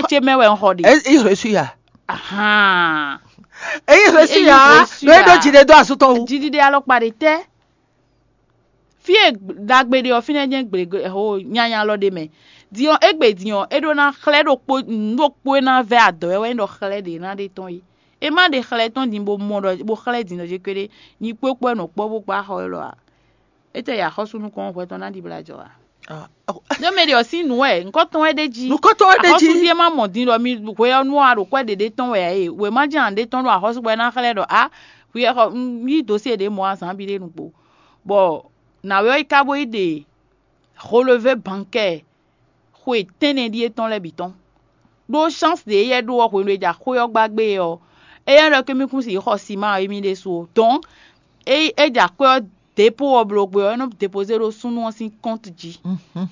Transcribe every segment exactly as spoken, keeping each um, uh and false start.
ce mɛ wɛ un xɔ ɖe. Ɛ, il reçu ya. Ahan. Ɛ, il reçu Il ya. reçu Ɖo é ɖó ya. Jide dó asú tɔn wú. Jidide alɔkpa ɖe tɛ. Fie dagbe ɖe ɔ fínɛ́ jɛ́n gblěgblé ho nyanya lɔ ɖe mɛ. Diɔ égbé diɔ é ɖó ná xlɛ́ ɖokpó nǔ ɖokpó é ná vɛ́ adɔ wɛ wɛ é ɖɔ xlɛ́ ɖě ná ɖe tɔn é. É má ɖe xlɛ́ tɔn din bó mɔ ɖɔ bó xlɛ́ din ɖɔ jé kpéɖé nyi kpókpó wɛ nɔ kpɔ́ bó kpá xɔ élɔ́ ǎ. É tɛ yi axɔ́sú nukɔn hwɛ tɔn ná ɖi blaja ǎ. Ɖó mɛ ɖe ɔ́ sín nǔ wɛ nǔkɔntɔn wɛ ɖé jí. Nukɔntɔn wɛ ɖé jí. Axɔ́súɖíe má mɔ din ɖɔ mi hwe ɔ́ nú a ɖo kwɛ́ ɖěɖé tɔn wɛ ǎ é. Wěma jɛ́n aɖé tɔn ɖo axɔ́sú bɔ é ná xlɛ́ ɖɔ á hwi ɔ́ xɔ un yí dǒsíe ɖě mɔ azǎn bi ɖé nukpo. Bɔ nǎwe ɔ́ yi ka bó yi ɖe relevé bankɛ́ɛ xwe tɛ́nnɛ ɖíe tɔn lɛ́ɛ bǐ tɔn. Ɖó chance ɖě éyɛ́ ɖó ɔ́ hwenu e ja xwé ɔ́ gbá gbé é ɔ́, éyɛ́ ɖɔ kémí kún si xɔ siman émí ɖésú ó. Donc é é ja xwé ɔ́ dépôt ɔ́ bló gbé ɔ́, é nɔ dépozé ɖó súnnu ɔ́ sín compte jí.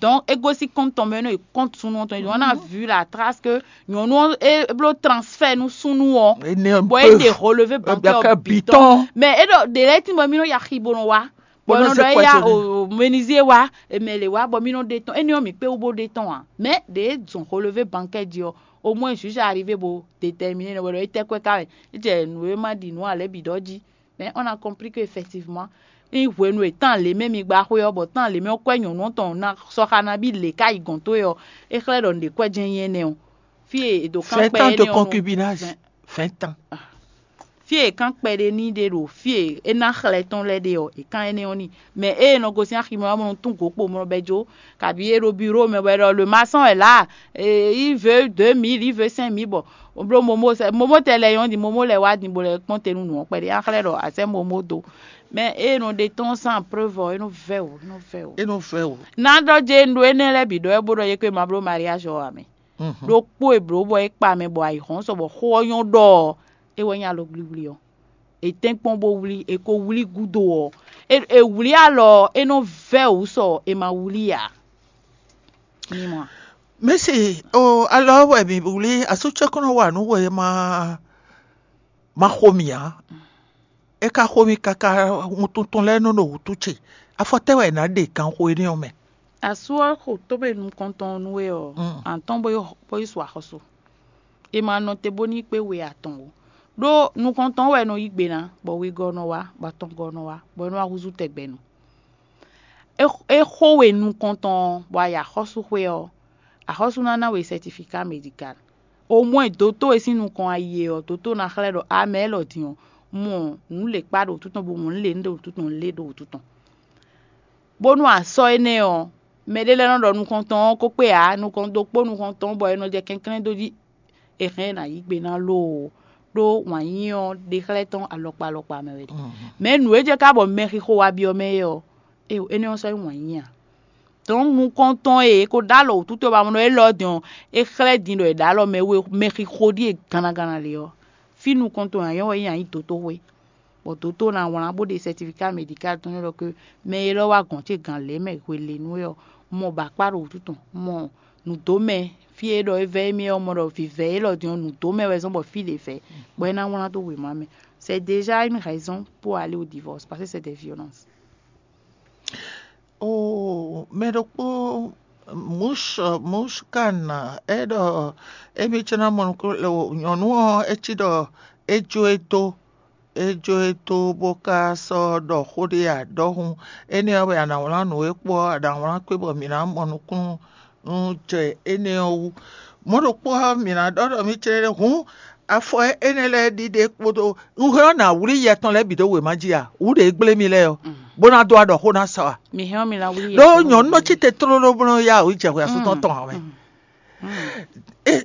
Donc é gosín compte tɔn mɛ é nɔ yi compte súnnu ɔ́ tɔn jí. On a vu la trace que nyɔ̌nu ɔ́ é bló transfert nú súnnu ɔ́. Bɔ é ɖe relevé bancaire ɔ́ bǐ tɔn. Mais é ɖɔ ɖě lɛ́ɛ tín bɔ mí nɔ yi axi bó nɔ wá. Bɔ nɔ ɖɔ éya o menuisier wá, emɛ lě wá bɔ mí nɔ ɖe tɔn. Énɛ́ ɔ́ mǐ kpé wú bó ɖe tɔn ǎ. Mais ɖě zɔn relevé bancaire jí ɔ́, au moins juge arrivé bo déterminer nɔ bɔ ɖɔ é tɛ́ kwɛ́ ká wɛ. É jɛ nǔ e ma ɖi nǔ ǎ lɛ́ɛ bǐ ɖɔ jí. Mais on a compris que effectivement ní hwenu e tán lě mɛ mi gba xwé ɔ́, bɔ tán lě mɛ ɔ́ kwɛ́ nyɔ̌nu ɔ́ tɔn ná sɔxa nabí lě ká yi gɔ̌n towe ɔ́, é xlɛ́ ɖɔ nǔɖé kwɛ́ jɛ́n nyí énɛ́ ɔ́. Fí e è dǒ kán kpɛ énɛ́ ɔ́ nú- Concubinage. Vingt ans. Fí e è kán kpɛɖé n'i ɖe ɖo fí e é ná xlɛ́ tɔn lɛ́ɛ ɖe ɔ́, è kán énɛ́ ɔ́ n'i. Mɛ ée è nɔ gosín aximɛ ɔ́ mɔ nɔ tún gǒ kpo mɔ bɛ jó, kabi é ɖo biro mɛ bɔ é ɖɔ le maçon est là, il veut deux mille, il veut cinq mille, bɔ bló momo sɛ momo tɛ lɛ yɔn di momo lɛ wá din bo lɛ kpɔn te nú nǔ ɔ́ kpɛɖé a xlɛ́ ɖɔ a sɛ momo do. Mɛ ée nɔ ɖe tɔn sans preuve ɔ́, é nɔ vɛ o, é nɔ vɛ o. É nɔ vɛ o. Ná ɖɔ jɛ un ɖo énɛ́ lɛ́ɛ bǐ ɖɔ é bó ɖɔ yě kó ma bló mariage ɔ́ ǎ mɛ. Ɖokpó e blǒ bɔ é kpa mɛ bɔ ayǐhɔ́n sɔ bɔ xó ɔ́ nyɔ́ ɖɔ ɔ́, é wɛ nyí alɔgblíblí ɔ́. È tɛ́nkpɔ́n bó wlí, è ko wlí gúdo ɔ́, è wlí alɔ ɔ́, é nɔ vɛ́ wǔ sɔ è ma wlí ǎ. Mi mɔ a? Mɛ̌si, o alɔ wɛ mǐ wlí asú ce kɔn nɔ wa nǔ wɛ ma ma xo mì ǎ. É ka xo mì káká wuntun tɔn lɛ́ɛ nɔ ɖo wǔtu ce. Afɔ tɛ́ wɛ è nǎ ɖe ganxo énɛ́ ɔ́ mɛ? Asú ɔ́ xo tómɛ nukɔntɔn nú we ɔ́, atɔ́n bó yi bó yi su axɔ́sú. È ma nɔ te bó ní kpé we atɔn ó. Ɖó nukɔntɔn wɛ nɔ yí gbe ná, bɔ wegɔ́ nɔ wá, bɔ atɔngɔ́ nɔ wá, bɔ é nɔ wá húzú tɛgbɛ nu. É é xo we nukɔntɔn ɔ́, bɔ a yi axɔ́súxwé ɔ́, axɔ́sú ná ná we sɛtifika medikal. Omwɛ́ dǒtó e sín nukɔn a yi e ɔ́, dǒtó ná xlɛ́ ɖɔ a mɛ élɔ́ din ɔ́, mɔ nǔ lě kpá ɖo wǔtu tɔn, bo mɔ nǔ lě ɖo wǔtu tɔn, lě ɖo wǔtu tɔn. Bónú a sɔ́ énɛ́ ɔ́, mɛɖé lɛ́ɛ nɔ ɖɔ nukɔntɔn ɔ́ ko kpé ǎ, nukɔn ɖokpó nukɔntɔn bɔ è nɔ jɛ kɛnklɛ́n dó jí. È hɛn ɛ ná yí gbe ná loo, ɖó wǎn yíyí ɔ́ ɖe xlɛ́ tɔn alɔkpa alɔkpa mɛ wɛ ɖe. Mɛ̌ nǔ e jɛ ká bɔ mɛxixo wá byɔ́ mɛ é ɔ́, énɛ́ ɔ́ sɔ́ nyí wǎn yíyí ǎ. Dɔ̌n nukɔntɔn e è ko ɖó alɔ wǔtútú e ba mɔ ɖɔ élɔ́ din ɔ́, é xlɛ́ din ɖɔ è ɖǒ alɔ mɛ we mɛxixo ɖíe gannaganna lě ɔ́, fí nukɔntɔn e a nyɔ́ wɛ nyí a nyǐ dotoxwé. Bɔ dǒtó ná wlán bó ɖe sɛtifiká medikál tɔn n'i ɖɔ ke mɛ e lɔ wá gɔ̌n ce gǎn lě mɛ hwelěnu é ɔ́, mɔ bɔ akpá ɖo wǔtu tɔn, mɔ nǔdómɛ fí e ɖɔ é vɛ́ émí ɔ́, mɔ ɖɔ vǐvɛ́ élɔ́ din ɔ́, nǔdómɛ wɛ zɔ́n bɔ fí ɖě vɛ́, bɔ é ná wlán dó wěma mɛ. C'est déjà une raison pour aller au divorce parce que c'est des violences. Oo, mɛ ɖokpó Mush Mushkan é ɖɔ émí cɛ́ ná mɔ nukún nyɔ̌nu ɔ́ é cí ɖɔ é jó e dó é jó e dó bó ka sɔ́ ɖɔ xó ɖé ǎ ɖɔhun énɛ́ ɔ́ wɛ a nǎ wlán nǔ e kpó ɔ́ a nǎ wlán kpé bɔ mǐ ná mɔ nukúnnú jɛ énɛ́ ɔ́ wú. Mɔ̌ ɖokpó ɔ́ mǐ ná ɖɔ ɖɔ mǐ cɛ́ ɖé hǔn afɔ énɛ́ lɛ́ɛ ɖiɖe kpódó un hɛn ɔ́ nǎ wlí yɛ tɔn lɛ́ɛ bǐ ɖó wěma jí a? Wǔ ɖě gblé mì lɛ́ɛ ɔ́, bó ná dó aɖɔ xó ná sa a? Mi hɛn mi la wuli yɛ. Ɖó nyɔ̌nu nɔ cí te tlóló bó nɔ yá wǔ jɛ hwɛ asú tɔn tɔn ǎ wɛ.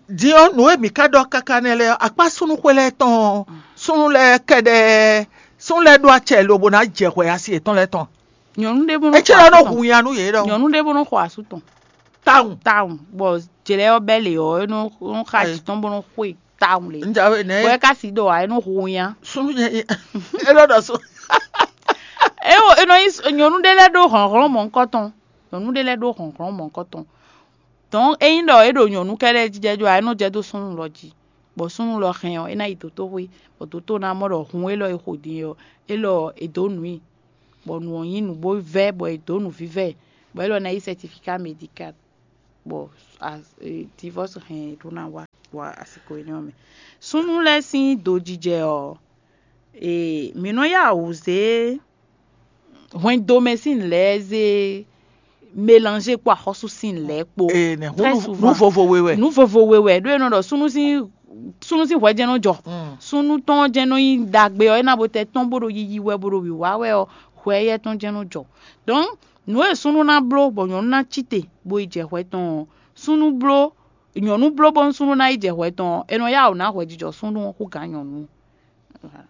Din ɔ́, nǔ e mǐ ka ɖɔ káká nɛ́ lɛ́ɛ ɔ́, akpá súnnu xwé lɛ́ɛ tɔn ɔ́, súnnu lɛ́ɛ kɛɖɛɛ, súnnu lɛ́ɛ ɖó acɛ lobo ná jɛ hwɛ asi yětɔn lɛ́ɛ tɔn. Nyɔnu ɖé bó É cé ɖɔ nɔ hu nya nú yě ɖɔ. Nyɔnu ɖé bó nɔ xɔ asú tɔn. Tawun. Tawun bɔ jlɛ ɔ́ bɛ lě ɔ́, é nɔ nɔ xa jǐ tɔn bó nɔ xwe tawun lě. N jawe nɛ. Bɔ é ka si ɖɔ ǎ, é nɔ hu nya. Súnnu nyɛ é ɖɔ ɖɔ sún. É wo é nɔ nyi nyɔnu ɖé lɛ́ɛ ɖó hlɔ̌nhlɔ́n mɔ̌hunkɔtɔn. Nyɔnu ɖé lɛ́ɛ ɖó hlɔ̌nhlɔ́n mɔ̌hunkɔtɔn. Dɔn ényí ɖɔ é ɖo nyɔ̌nu kɛ́ɖɛ́ jijɛ jó ǎ, é nɔ jɛ dó súnnu lɔ jí, bɔ súnnu lɔ hɛn ɔ́, é ná yi dǒtoxwé, bɔ dǒtó ná mɔ ɖɔ hun élɔ́ e xo din é ɔ́, élɔ́ è dǒ nǔ i, bɔ nǔ ɔ́ nyí nǔ bó vɛ́, bɔ è dǒ nǔvívɛ́, bɔ élɔ́ ná yí sɛtifiká medikal. bɔ divorce hɛn ɖó ná wá wá asiko énɛ́ ɔ́ mɛ. Súnnu lɛ́ɛ sín dojijɛ ɔ́, mǐ nɔ yá wǔ zé hwɛndo mɛ sín nǔ lɛ́ɛ zé mélanger kpó axɔ́sú sín nǔ lɛ́ɛ kpó. Ee, nɛ Très hǔn souvent. Nǔ vovo we wɛ. Nǔ vovo we wɛ ɖó e nɔ ɖɔ súnnu sín súnnu sín hwɛ jɛ́n nɔ jɔ. Mm. Súnnu tɔn jɛ́n nɔ nyí ɖagbe ɔ́, é ná bo tɛ tɔn bó ɖo yiyi wɛ bó ɖo wǐwá wɛ ɔ́, hwɛ éyɛ́ tɔn jɛ́n nɔ jɔ. Donc nǔ e súnnu ná bló bɔ nyɔ̌nu ná cí te bó yi jɛ hwɛ tɔn ɔ́, súnnu bló nyɔ̌nu bló bónú súnnu ná yi jɛ hwɛ tɔn ɔ́, è nɔ yá wǔ ná hwɛjijɔ súnnu ɔ́ hú gǎn nyɔ̌nu. Voilà.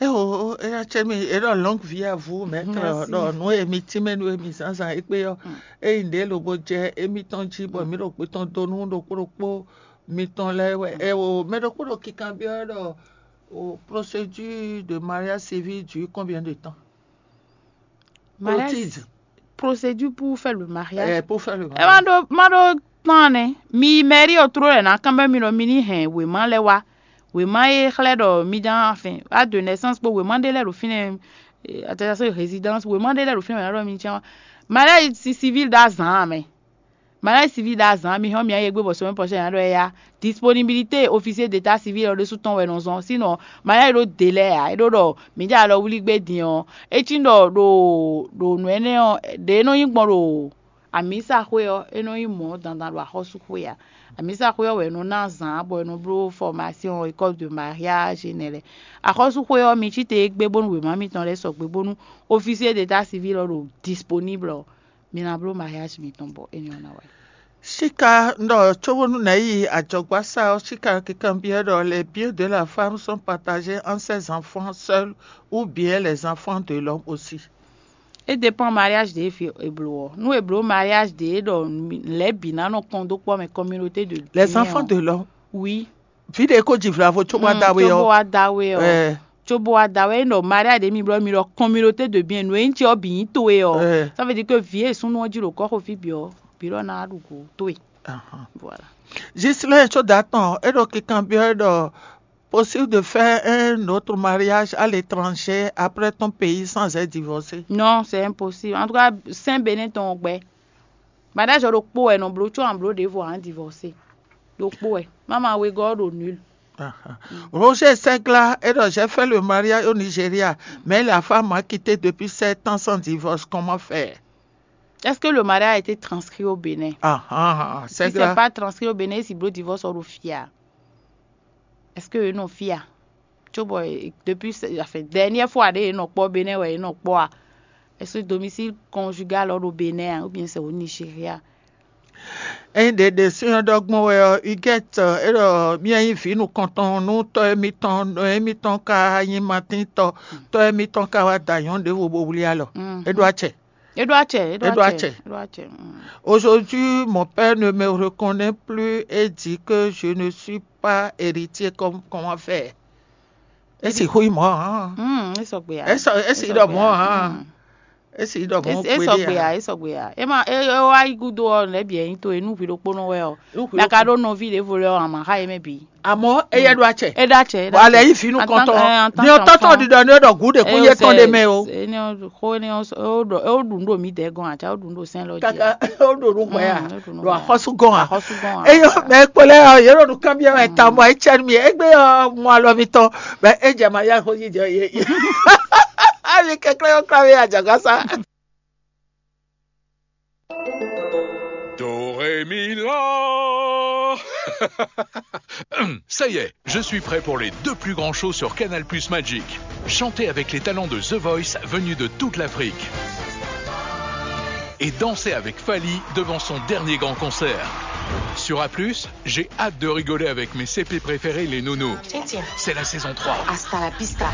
Éwo, éyá cɛ mi é ɖɔ longue vie à vous, mais Merci. Ɖɔ nú emi tínmɛ nú emi zǎnzǎn égbé ɔ́, ényí ɖě lobo jɛ émítɔn jí bɔ mǐ ɖo gbé tɔn dó nú ɖokpó ɖokpó mitɔn lɛ́ɛ wɛ. Éwo, mɛ ɖokpó ɖo kikanbyɔ́ ɖɔ o procédure de mariage civil dure combien de temps? Mariage, Otide. Procédure pour faire le mariage. Eh, pour faire le ɛ má mariage. Ɖó má ɖó tán nɛ mi yi mairie ɔ́ tró lɛ ná kán bɛ mi ɖɔ mi ní hɛn wěma lɛ́ɛ wá. Wěma e xlɛ́ ɖɔ mi ján afin a de naissance kpó wěma ɖé lɛ́ɛ ɖo fínɛ́. Attestation de résidence wěma ɖé lɛ́ɛ ɖo fínɛ́ wɛ ná ɖɔ mi ján wá. Mariage civil ɖo azǎn mɛ. Mariage civil ɖo azǎn mi hɔn mi ayé gbé bɔ semaine prochaine ná ɖɔ ya. Disponibilité officier d'état civil ɔ́ ɖésú tɔn wɛ nɔ zɔn, sinon mariage ɖó délai ǎ. É ɖó ɖɔ mi jɛ alɔ wlí gbé din ɔ́, é cí ɖɔ ɖo ɖo nǔ énɛ́ ɔ́ ɖě nɔ nyí gbɔn ɖo amǐsaxwé ɔ́, é nɔ nyí mɔ̌ dandan ɖo axɔ́súxwé ǎ. Amǐsaxwé ɔ́ wɛ nɔ ná azǎn bɔ è nɔ bló formation, école de mariage énɛ́ lɛ́ɛ. Axɔ́súxwé ɔ́, mi cí te égbé bónú wěma mitɔn lɛ́ɛ sɔgbe bónú officier d'état civil ɔ́ ɖo disponible ɔ́, mi ná bló mariage mitɔn bɔ énɛ́ ɔ́ ná wá. Síka ɖɔ cóbónú nɛ̌ yi ajɔgbásá ɔ́, síka kikanbyɔ́ ɖɔ les biens de la femme sont partagés entre ses enfants seuls ou bien les enfants de l'homme aussi. É dépend mariage ɖě fi è blǒ ɔ́. Nú è blǒ mariage ɖě ɖɔ lɛ̌ bǐ ná nɔ kɔn dó kpɔ́ mɛ, communauté de Les biens enfants ɔ́. De l'homme. Oui. Vǐ ɖě kó ji vlavo cóbó wá Mm, dá we cóbó ɔ́. Wá dá we ɔ́. Eh, Cóbó wá dá we, é ɖɔ mariage ɖě mi blɔ́ mi ɖɔ communauté de biens, nǔ e nyí ce ɔ́ bǐ nyí towe ɔ́. Eh. Ça veut dire que vǐ e súnnu ɔ́ jí ɖo kɔ́xo fí bǐ ɔ́, bǐ ɖɔ ná ɖu go towe. Ahan. Voilà. Ghislain Tsodatɔn, é ɖo kikanbyɔ́ ɖɔ possible de faire un autre mariage à l'étranger après ton pays sans être divorcé. Non, c'est impossible. En tout cas, sɛn Bénin tɔn gbɛ. Mariage ɔ́ ɖokpó wɛ nɔ bló, có an bló ɖěvo an divorcé. Ɖokpó wɛ. Mama wegɔ́ ɔ́ ɖo nul. Ahan. Roger Segla, é ɖɔ j'ai fait le mariage au Nigeria, mais la femme m'a quitté depuis sept ans sans divorce. Comment faire? Est-ce que le mariage a été transcrit au Bénin? Ah, ah, ah, Si c'est Segla. Pas transcrit au Bénin, si bló divorce ɔ́ ɖo fia. Est-ce que eux non fia? Tso bɔ depuis, enfin, dernière fois ɖé nɔ kpɔ Bénin wɛ nɔ kpɔ a? Est-ce que domicile conjugal ɔ́ ɖo Bénin a, ou bien c'est au Nigeria? Ényí ɖě ɖe sín ɔ́ ɖɔ gbɔn wɛ ɔ́, Huguette, é ɖɔ mía nyí vǐ nukɔntɔn nú tɔ́ émítɔn, nɔ émítɔn ka nyí Matín tɔ́, tɔ́ émítɔn ka wá da nyɔ̌nu ɖěvo bó wlí alɔ. Mm. É ɖó acɛ. Eɖo acɛ, eɖo Eɖo acɛ, acɛ. eɖo acɛ. Mm. Aujourd'hui, mon père ne me reconnaît plus et dit que je ne suis pas héritier. Comme, comment faire? Esi hui mɔ hã. Mm, esɔgbe ya. Esi esi ɖɔ mɔ hã. Esi ɖɔ mɔ Esɔgbe ya, esɔgbe ya. Ema e e wa yi gudo ɔ lɛ bi ɛyin to enu vi ɖokpo nɔ wɛ ɔ. Mɛ ka ɖo nɔvi ɖe vo lɛ ɔ ama xa ye mɛ bi. Àmọ́ eyɛ ɖo atsɛ. Eɖo atsɛ. Wà lẹ yí fínú kɔntɔn. Ní ọtọ́ tán dídọ̀ ní ọ̀dọ̀ gúdè kó yé tán lé mɛ o. Ko ni o ɖu ɖo mi dɛ gɔn àti o ɖu ɖo sɛn lɔ jɛ. Kaka o ɖo nu gbɛ ya. Ɖo axɔsu gɔn a. Axɔsu gɔn a. Eyo mɛ kpɔlɛ ɔ yɛ ɖo nu kanbiɛ mɛ tamɔ etsɛ mi egbe ɔ mɔ alɔ mi tɔn mɛ edze ma ya xo yi jɛ ye. Ami kɛklɛ yɔ kura mi adzagasa. Do, ré, mi, la. Ça y est, je suis prêt pour les deux plus grands shows sur Canal Plus Magic. Chantez avec les talents de The Voice venus de toute l'Afrique. Et dansez avec Fally devant son dernier grand concert. Sur A plus, j'ai hâte de rigoler avec mes C P préférés, les nounous. C'est la saison trois. Hasta la vista.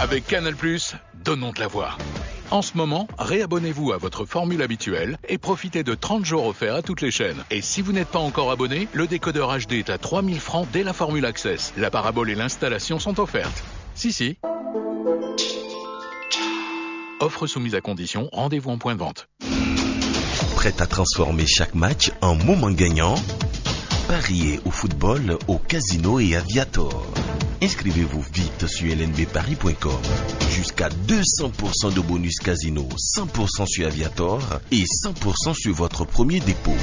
Avec Canal Plus, donnons de la voix. En ce moment, réabonnez-vous à votre formule habituelle et profitez de trente jours offerts à toutes les chaînes. Et si vous n'êtes pas encore abonné, le décodeur H D est à trois mille francs dès la formule Access. La parabole et l'installation sont offertes. Si, si. Offre soumise à condition, rendez-vous en point de vente. Prête à transformer chaque match en moment gagnant? Pariez au football au Casino et Aviator. Inscrivez-vous vite sur L N B paris point com. Jusqu'à deux cents pour cent de bonus casino, cent pour cent sur Aviator et cent pour cent sur votre premier dépôt.